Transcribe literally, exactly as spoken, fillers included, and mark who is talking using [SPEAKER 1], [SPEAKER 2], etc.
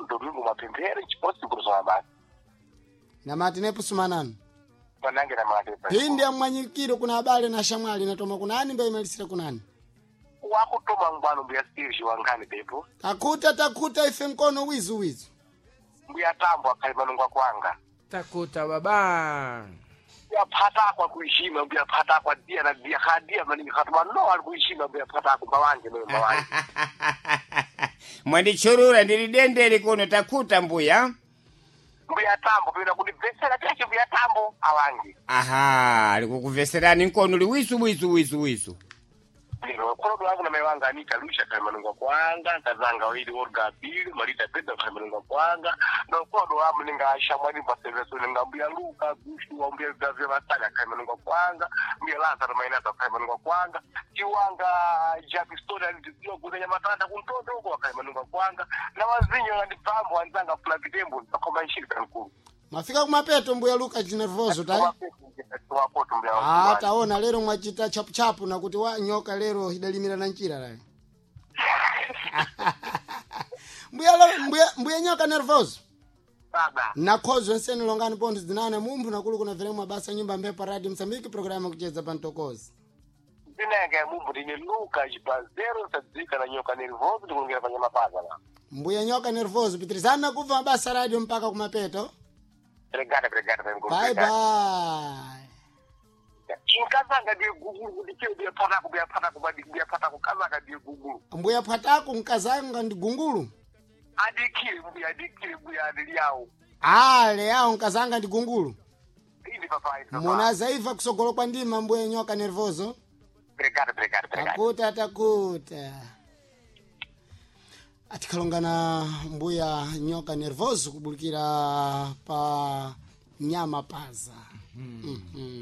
[SPEAKER 1] Domingo mapemphero chiposi kuzowa basi.
[SPEAKER 2] Namati nepusumanani.
[SPEAKER 1] Panange na mate.
[SPEAKER 2] Pindi amwanyikiro kuna abale na shamwali natoma kunani mbaimalisire kunani.
[SPEAKER 1] Wakutoma ngwano mbuya Steve wangani bepo.
[SPEAKER 2] Takuta takuta ife mkono wizu wizu.
[SPEAKER 1] Mbuya tambo akhali manungwa kwanga.
[SPEAKER 3] Takuta baba.
[SPEAKER 1] Mbuya phata kwa kuishima mbuya phata kwa dia na dia khadia maningi khatuma no ali kuishima mbuya phata kwa mawanje no mawanje.
[SPEAKER 4] Mwandichurura ndili dendeli kuno takuta mbuya.
[SPEAKER 1] Mbuya tambo pena kundibvesera chache mbuya tambo awange.
[SPEAKER 4] Aha, alikukuveserani nkono liwisu wisu wisu wisu.
[SPEAKER 1] Lero kholodo wangu na mai wanga Anita Lusha khali manungwa kwanga nkazanga wili Olga Bill Marita Pedro khali manungwa kwanga na kholodo wamu ninga shamwani paseveso ninga mbuya Luka Gushu wa mbuya Gavya Masanya khali manungwa kwanga mbuya Lazaro Mainata khali manungwa kwanga chiwanga Jackstone alitiziwa kuzenya matata kuntoto uko khali manungwa kwanga na wazinyo ngandipambo wanzanga fula kitembo ndakoma nshiri kankulu.
[SPEAKER 2] Mafika kumapeto mbuya Luka chinervoso tai.
[SPEAKER 1] Wapoto mbuya
[SPEAKER 2] Ah,
[SPEAKER 1] wangu.
[SPEAKER 2] taona lero mwachita chapu chapu na kuti wa nyoka lero idalimira na nchira lai. Mbuya lo- mbuya mbuya nyoka nervoso.
[SPEAKER 1] Baba.
[SPEAKER 2] Nakhozo nseni longani pontho zinane mumphu nakulu kuna veremwa basa nyumba mphepo radio Msambiki programu kucheza pantokozi.
[SPEAKER 1] Zinenge mumbu ndine Luka chipazero sadzika na nyoka nervoso ndikulongera panyama paza la.
[SPEAKER 2] Mbuya nyoka nervoso pitirizana kubva mabasa radio mpaka kumapeto.
[SPEAKER 1] Obrigada, obrigada,
[SPEAKER 2] Bye bye.
[SPEAKER 1] Inkazanga ndiye gugulu kuti chiyo ndiye patako ndiye patako badi ndiye patako kazanga ndiye gugulu.
[SPEAKER 2] Mbuya pwatako nkazanga ndi gungulu.
[SPEAKER 1] Adikire mbuya adikire mbuya adili yawo.
[SPEAKER 2] Ale yawo nkazanga ndi gungulu.
[SPEAKER 1] Indi papa indi papa.
[SPEAKER 2] Munazaiva kusogolo kwa ndima mbuya nyoka nervoso.
[SPEAKER 1] Obrigada, obrigada, obrigada.
[SPEAKER 2] Takuta takuta. Atikalongana mbuya nyoka nervoso kubulikira pa nyama paza. Mm -hmm.